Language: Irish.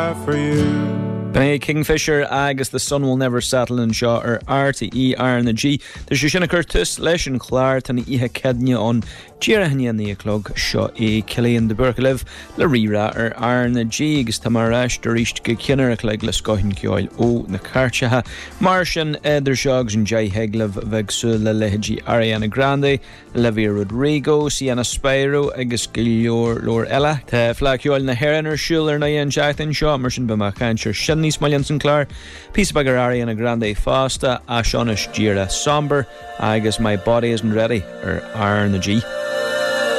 For you. B'in é Kingfisher agus The Sun Will Never Settle anseo ar RTÉ R na G. Tá sé sin ag cur tús leis an chlár, tá an oíche Céadaoine ann díreach i ndiaidh a 9 a chlog. Seo é Cillian de Búrca libh le Rí-Rá ar R na G agus tá mé ar ais arís go ceann uair a chloig le scoth an cheoil ó na cairteacha. Mar sin, idir seo agus an 10 thig libh a bheith ag súil le leithéidí Ariana Grande, Olivia Rodrigo, Sienna Spiro agus go leor leor eile. Tá Fleadh Cheoil na hÉireann ar siúl ar ndóigh an tseachtain seo, mar sin beidh mé ag caint ar sin níos moille ins an clár. Píosa beag ar Ariana Grande fosta, ach seo anois díreach Somber agus My Body Isn't Ready ar R na G.